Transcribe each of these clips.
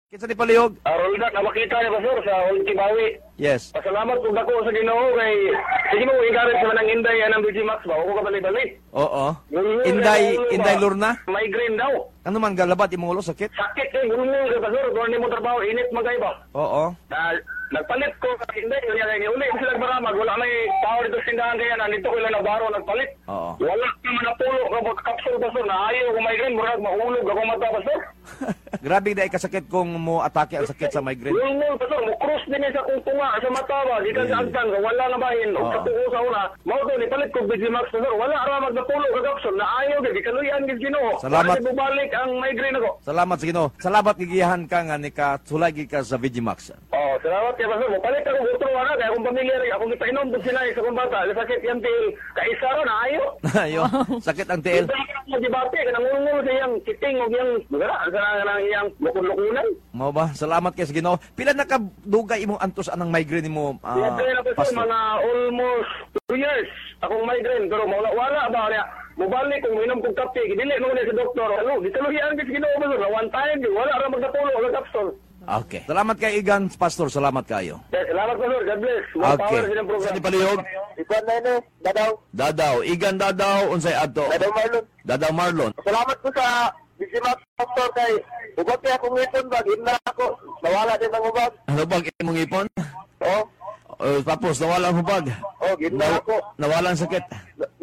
Kinsa ni palihog? Rolda, namakita niya, Pastor, sa Old Kibawi. Yes. Pasalamat kung dako sa Ginoo kay sige mo encourage naman ang Inday anang BG Max ba ako ka bali-bali. Oo. Ngulngul Inday, na Inday ba? Lorna? Migraine daw. Ano man galabat imong ulo sakit? Sakit kay ngulngul kay, Pastor, kung mo trabaho init man kay ba. Oo. Na nagpalit ko kay Inday niya kay uli sila baramag wala may tao dito sa tindahan kaya nandito ko lang nabaro nagpalit. Oo. Wala naman napulo ka kapsul, Pastor, na ayaw ko migraine murag mahulog ako mata, Pastor. Grabe dai kasakit kung mo atake ang sakit sa migraine. Ngulngul, Pastor, mo cross din sa akong tunga sa mata ba, gikan sa agtang, wala na bahin. Og sa tuo sa una, mao to nipalit ko BG Max, Pastor, wala ra magnapulo ka kapsul, na ayaw gid gikaluyan gid Ginoo. Salamat. Wala bubalik ang migraine ako. Salamat sa Ginoo. Salamat gigiyahan ka nga nika sulay gid ka sa VG Max. Oh, salamat kay Pastor. Mopalit ako otro ana kay akong pamilya rin, akong gipainom pud sila sa akong bata. Sakit yang tiil. Kaisa ra na ayo. Ayo, sakit ang tiil. Mo gibati kanang ngulngul sa iyang kiting og iyang magara sa kanang iyang lukon-lukunan. Mao ba? Salamat kay sa Ginoo. Pila na ka dugay imong antos anang migraine nimo, Kaya na, Pastor, Pastor? mga almost 2 years akong migraine pero wala wala ba niya. Mubalik kung minom kong kape, dili mo sa doktor. Ano, gikaluhian gid sa Ginoo, Pastor. One time, wala ra magnapulo og kapsul. Okay. Salamat kay Igan, Pastor. Salamat kayo. Okay, salamat, Pastor. God bless. More Okay. power sa inyong program. Sa ni palihog? Ikuan na yun eh, Dadaw. Dadaw, Igan Dadaw, unsay adto? Dadaw Marlon. Dadaw Marlon. Salamat ko sa Bisimak, Pastor, kay ubag kaya akong ngipon ba, na ako. Nawala din ang ubag. Ano bag imong ipon? Oh, Tapos nawala ang hubag. Oh, gina ako. Nawala ang sakit.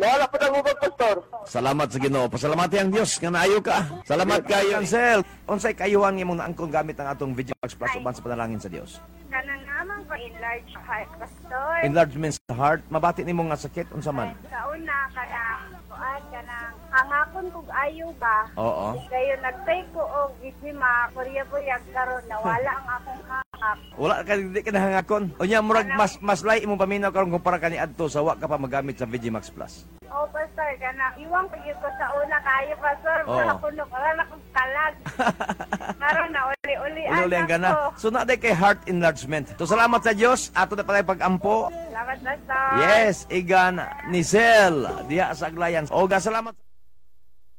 Nawala pa ang ubag, Pastor. Salamat sa Ginoo. Pasalamati ang Dios nga naayo ka. Salamat kayo. Ansel, unsay kayuhan imong naangkon gamit ang atong VG Max Plus uban sa panalangin sa Dios? Kanang amang ko enlarge heart, Pastor. Enlargement sa heart, mabati nimo nga sakit unsa man? Sa una, kanang kuan, kanang hangakon kog ayo ba. Oo. Dayon nagtay ko og gisima, purya-purya karon nawala ang akong hangak. Wala ka di ka nahangakon. Unya murag mas mas lay imong paminaw karon kumpara kani adto sa wa ka pa magamit sa VG Max Plus. O Pastor, kanang iwang ko gyud ko sa una kayo, Pastor, Oo. wala ko no, wala na kong kalag. Karon na uli-uli Uli-uli ang gana. So na day kay heart enlargement. So salamat sa Dios ato na pala pag-ampo. Salamat, Pastor. Yes, Igan Nisel diha sa Aglayan. Oga salamat.